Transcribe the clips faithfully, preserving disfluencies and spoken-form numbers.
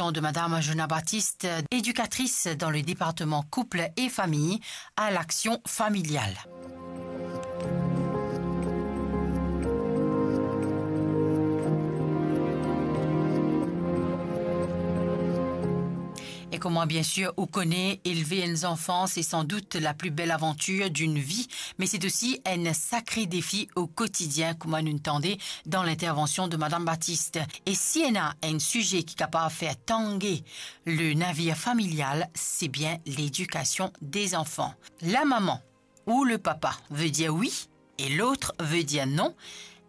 de Madame Jona Baptiste, éducatrice dans le département couple et famille à l'Action familiale. E kouma, bien sir, ou kone, elve enn zanfan, se san dout la pli bel avantir dinn vi, me se osi enn sakre defi o kotidien, kouma nou tande dan lintervansion de Madame Baptiste. E si ena enn size ki kapav fer tange le navir familial, se bien ledikasion de zanfan. La maman ou le papa ve dir wi e lot ve dir non.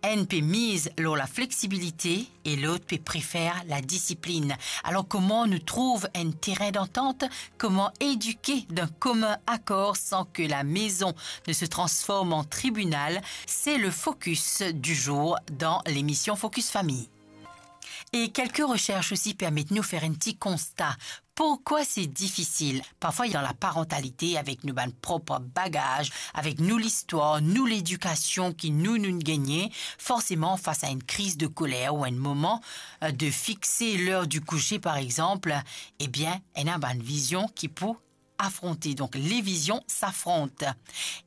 Enn pe miz lor lafleksibilite e lot pe prefer ladisiplin. Alor, kouma nou trouv enn terin dantant? Kouma edike dan komin akor san ke la maison ne se transform an tribinal? Se le focus du jour dan lemision Focus Famille. E kelke resers osi permet nou fer enn ti konsta. Pourkwa se difisil? Parfwa, dan laparantalite, avek nou bann prop bagaz, avek nou listwar, nou ledikasion ki nou, nou gagne, forseman, fas a enn kriz de koler ou enn moman, eh, de fixe l'heure du coucher, par exemple, ebien, ena bann vizion ki pou afronte. Donk, les visions s'affrontent.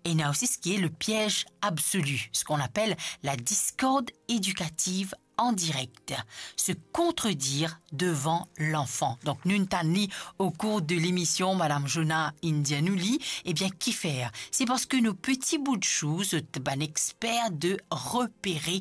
Ena osi ce qui est le piège absolu, ce qu'on appelle la discorde éducative en direct, se contredire devant l'enfant. Donk, nou tann li o kour de lemision, Madame Jona inn dir nou li, ebien, ki fer? Se parski nou peti bout chou, zot bann exper de repere